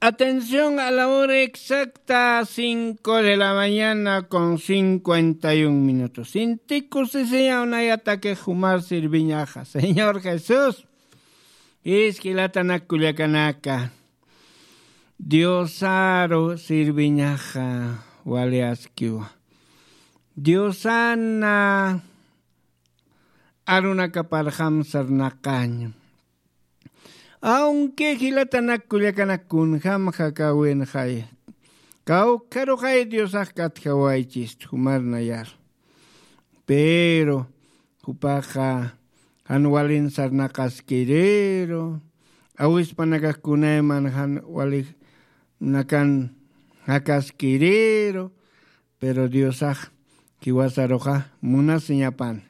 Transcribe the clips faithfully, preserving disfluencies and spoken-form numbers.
Atención, a la hora exacta, cinco de la mañana con cincuenta y un minutos. Sintiku sisiñaw nayataki jumar sirviñaxa. Señor Jesús, jisk'ilatanak kullakanaka. Diosaru sirviñaxa wali askiwa. Diosana arunakaparjam sarnaqaña. Aunque jilatanak kullakanak kunjam jakawinxay, kawkharuxay Diosax katjawaychist jumar nayar. Pero jupaxa jan walin sarnaqaskiriru, awispanakax kunayman jan walinakan jakaskiriru, pero Diosax jiwasaruxa munasiñapan.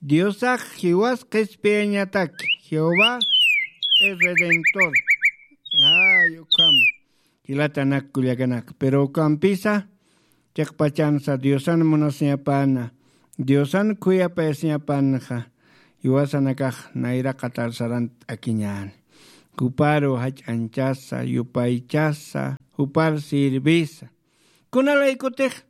Diosax jiwas qhispiyañatak, Jehová es redentor. Ay, ukhama. Jilatanak kullakanak. Pero ukampisa, chiqpachansa Diosan munasiñapana, Diosan khuyapayasiñapanxa, jiwasanakax nayra qatar sarant'akiñäni. Juparu jach'anchasa, yupaychasa, jupar sirvisa. Kunalaykutix,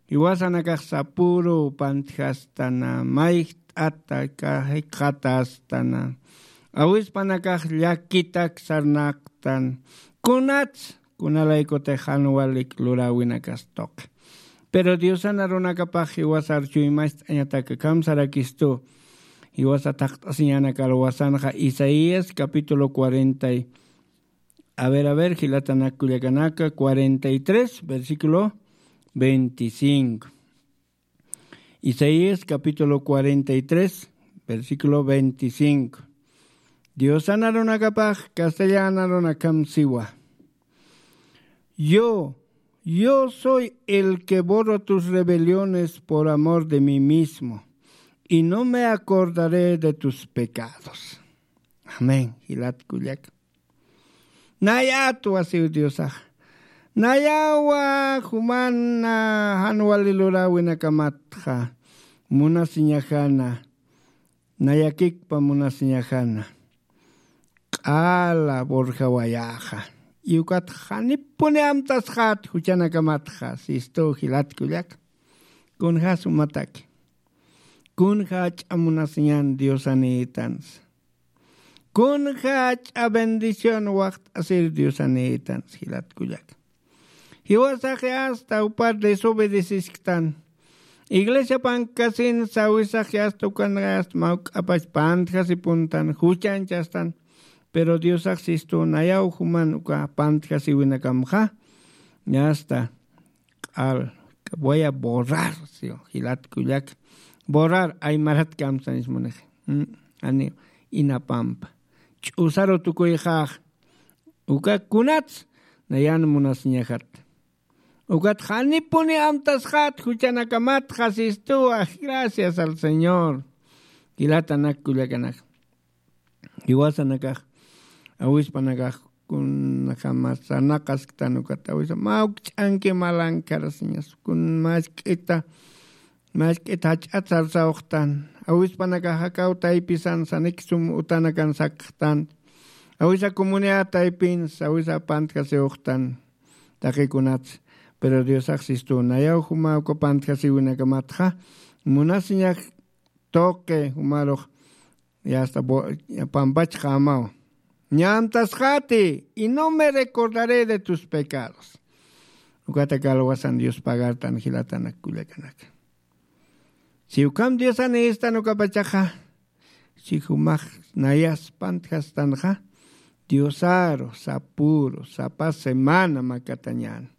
jiwasanakax sapuru pantjastana, mayjt'ata, jikxatastana. Awispanakax llakitak sarnaqtan. Kunats, kunalaykutix jan walik luräwinakas tuqi. Pero Diosan arunakapax jiwasar chuymacht'añataka, kamsarakistu. Jiwasa thaqt'asiñäna kalwasanxa Isaías capítulo cuarenta y A ver, a ver, jilatanak kullakanaka, cuarenta y tres, versículo veinticinco. Isaías capítulo cuarenta y tres, versículo veinticinco. Diosan arunakapax castellan arunakam siwa. Yo, yo soy el que borro tus rebeliones por amor de mí mismo, y no me acordaré de tus pecados. Amén. Jilat kullaka. Nayatwa siw Diosax. Nayawa jumana jan wali luräwinakamatxa munasiñajana. Nayakikpa munasiñajana. Q'ala borjawayaxa. Iwkat janipuni amtasxat juchanakamatxa. Sistu jilat kullaka. Kunja sumataki. Kunja jach'a munasiñan Diosanïtansa. Kunja jach'a bendición waxt'asir Diosanïtansa jilat kullaka. Jiwasaxi hasta jupar desobedecisktan. Iglesia pankasin sawisaxi hasta ukan hasta mawk'apach pantjasipuntan, juchanchastan. Pero Diosax sistu nayaw juman uka pantjasiwinakamxa. Hasta q'al, voy a borrar, siw, jilat kullaka. Borrar, aymarat kamsanis munix. Mm, ani, inapampa. Ch'usaru tukuyxax. Uka kunats, nayan munasiñaxat. Ukat janipuni amtasxat, juchanakamatxa sistuwa, gracias al Señor. Jilatanak kullakanak. Jiwasanakax, awispanakax, kunjama sarnaqasktan ukat, awisa, mawkch'anki malankarasiñas, kun mask'ita, mask'ita jach'at sarsawxtan, awispanakax jakaw taypisan sanik sum utanakan sakxtan, awisa comunidad taypins, awisa pantjasiwxtan, taqikunats, pero Diosax sistu, nayaw juma uka pantjasiwinakamatxa, munasiñax tuqi, jumarux, ya está, bo-, ya pampachxamaw. Ñamtasxati, y no me recordaré de tus pecados. Ukata kalwasan Dios pagartan jilatanak kullakanaka. Si ukham Diosan istan ukapachaxa, si jumax nayas pantjastanxa, Diosaru, sapuru, sapa semana makatañan.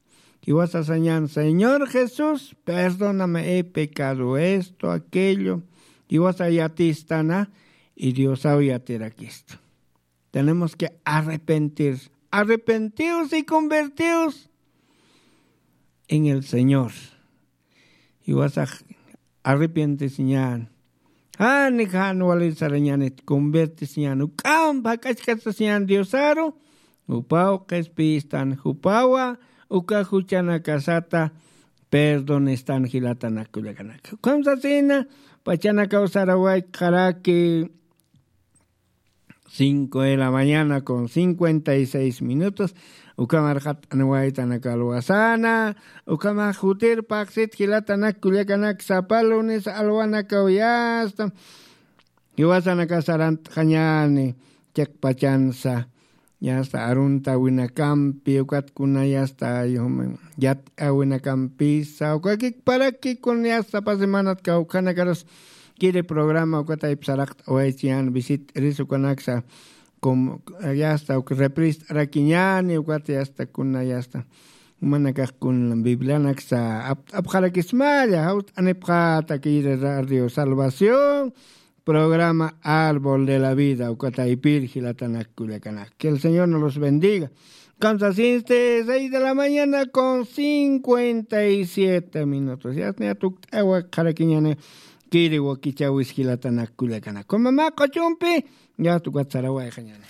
Jiwasasañan, Señor Jesús, perdóname, he pecado esto, aquello. Jiwasa yatistana, y Diosaw yatirakistu. Tenemos que arrepentir. Arrepentidos y convertidos en el Señor. Jiwasax arrepientesiñan. Jani jan wali sarañanit convertesiñan. Uk'amp jak'achkasasiñan Diosaru. Jupaw qhispiyistan, jupawa uka juchanakasata perdonestan jilatanak kullakanaka. Ukham sasina, pachanakaw sarawaykaraki, Cinco de la mañana con cincuenta y seis minutos. Ukamarxat anwaytanak alwasana. Ukamax jutir paqsit jilatanak kullakanak sapa lunes alwanakaw yasta. Jiwasanaka sarantxañani chakpachansa. Yasta arunta winakampi ukatkuna yasta yat'a winakampisa ukakikparakikun yasta pasi manat kawkhanakaras kiri programa ukataypi saraqt'awaychiyan visit risukanaksa. Como yasta uk reprist'arakiñani ukat yasta kuna yasta. Umanakax kun biblianaksa apt'apxarakismalla jawt'anipxata kiri radio salvación. Programa Árbol de la Vida ukataypir jilatanak kullakanak, que el Señor nos los bendiga. Kamsa sinste seis de la mañana con cincuenta y siete minutos yasniya tukt'awa qharakiñani. Kiri wakichawis jilatanak kullakanak kumama q'ochumpi. Yatukat sarawayxañani.